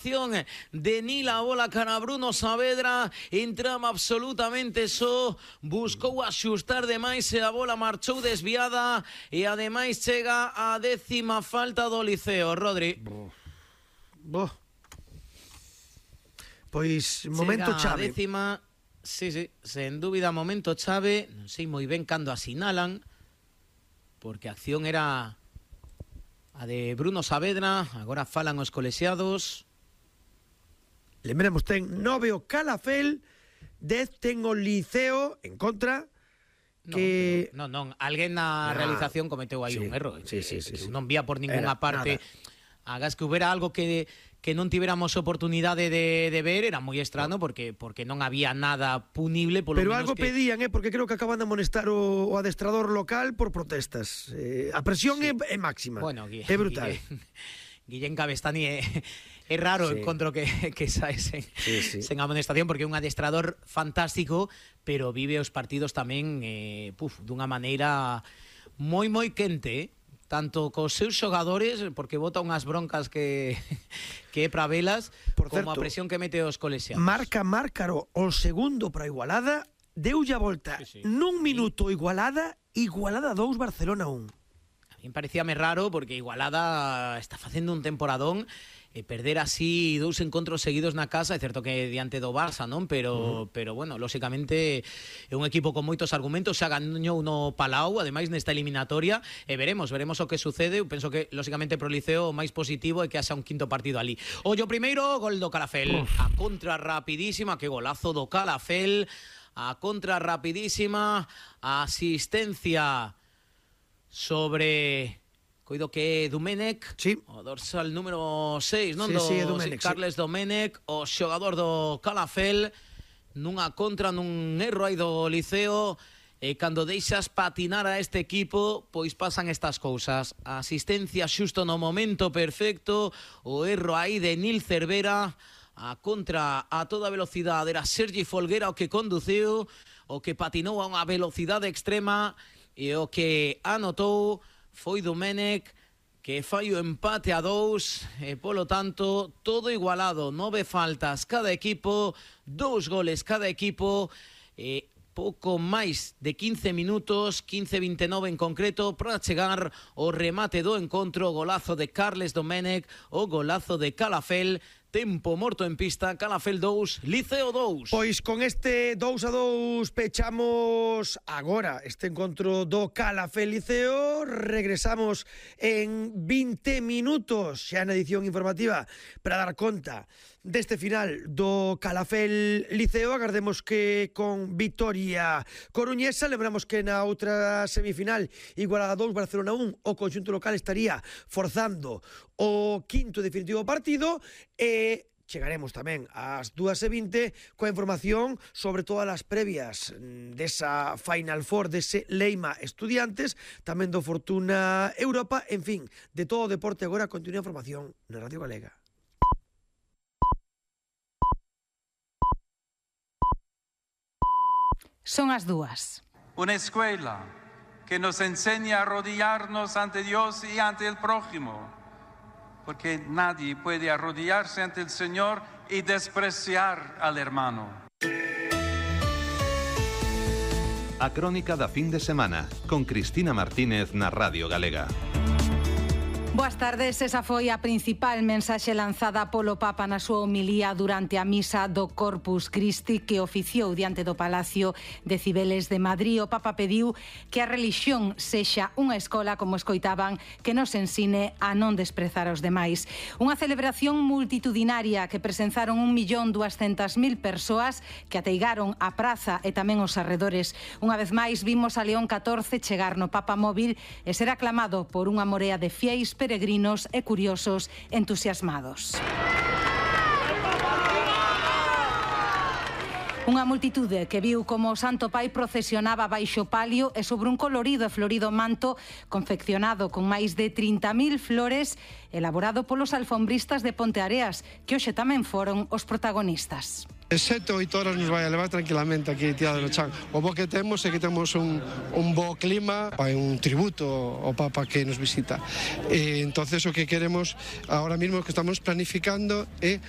de Nila, a bola cara a Bruno Saavedra, entraba absolutamente só, buscou axustar demais e a bola marchou desviada e ademais chega a 10ª falta do Liceo. Rodri. Pois momento chave. Chega a 10ª, sí, sen dúbida momento chave, non sei moi ben cando asinalan, porque a acción era a de Bruno Saavedra, agora falan os colexiados. Lembremos, ten 9 o Calafel, 10 ten o Liceo en contra. Que... Non, alguén na realización cometeu aí un erro. Sí. Non vía por ninguna parte. Hagas que hubiera algo que non tiveramos oportunidade de ver, era moi estrano porque non había nada punible. Pero algo pedían, porque creo que acaban de amonestar o adestrador local por protestas. A presión é máxima. Bueno, é brutal. Guillén Cabestani é raro encontro que sae sen amonestación, porque é un adestrador fantástico, pero vive os partidos tamén dunha maneira moi quente, tanto cos seus xogadores, porque bota unhas broncas que é para velas, como a presión que mete os colexiados. Marca Márcaro o segundo para Igualada, deulle a volta nun minuto Igualada 2, Barcelona 1. A mí parecíame raro porque Igualada está facendo un temporadón, perder así 2 encontros seguidos na casa, é certo que diante do Barça, non? Pero bueno, lóxicamente é un equipo con moitos argumentos, xa gañou no Palau, ademais nesta eliminatoria, e veremos o que sucede. Eu penso que lóxicamente pro Liceo o máis positivo é que haxa un quinto partido ali. Ollo primeiro, gol do Calafel, a contra rapidísima, que golazo do Calafel, a contra rapidísima, a asistencia sobre, coido que é Domènech, o dorsal número 6, non? Domènech, Carles Domènech, o xogador do Calafel, nunha contra, nun erro aí do Liceo, e cando deixas patinar a este equipo, pois pasan estas cousas. A asistencia xusto no momento perfecto, o erro aí de Nil Cervera, a contra a toda velocidade, era Sergi Folguera o que conduciu, o que patinou a unha velocidade extrema, e o que anotou foi Domènech, que fai o empate a 2, e polo tanto todo igualado, 9 faltas cada equipo, 2 goles cada equipo, e pouco máis de 15 minutos, 15-29 en concreto, para chegar o remate do encontro. Golazo de Carles Domènech, o golazo de Calafel. Tempo morto en pista, Calafel 2, Liceo 2. Pois con este 2-2 pechamos agora este encontro do Calafel Liceo. Regresamos en 20 minutos xa na edición informativa para dar conta deste final do Calafel Liceo. Agardemos que con vitoria coruñesa. Lembramos que na outra semifinal, Igualada 2, Barcelona 1, o conxunto local estaría forzando o quinto definitivo partido, e chegaremos tamén ás 2:20 coa información sobre todas as previas desa Final Four, dese Leima Estudiantes, tamén do Fortuna Europa, en fin, de todo o deporte. Agora continúa a información na Radio Galega. Son as 2. Una escuela que nos enseña a arrodillarnos ante Dios y ante el prójimo, porque nadie puede arrodillarse ante el Señor y despreciar al hermano. A crónica da fin de semana, con Cristina Martínez na Radio Galega. Boas tardes, esa foi a principal mensaxe lanzada polo Papa na súa homilía durante a misa do Corpus Christi que oficiou diante do Palacio de Cibeles de Madrid. O Papa pediu que a relixión sexa unha escola, como escoitaban, que nos ensine a non desprezar os demais. Unha celebración multitudinaria que presenzaron 1.200.000 persoas que ateigaron a praza e tamén os arredores. Unha vez máis vimos a León XIV chegar no Papa móvil e ser aclamado por unha morea de fieis, peregrinos e curiosos entusiasmados. Unha multitude que viu como o Santo Pai procesionaba baixo palio e sobre un colorido e florido manto confeccionado con máis de 30.000 flores elaborado polos alfombristas de Ponteareas, que hoxe tamén foron os protagonistas. 7 ou 8 horas nos vai a levar tranquilamente aquí tirado no chan. O bo que temos é que temos un bo clima, é un tributo ao Papa que nos visita. Entonces o que queremos ahora mismo que estamos planificando é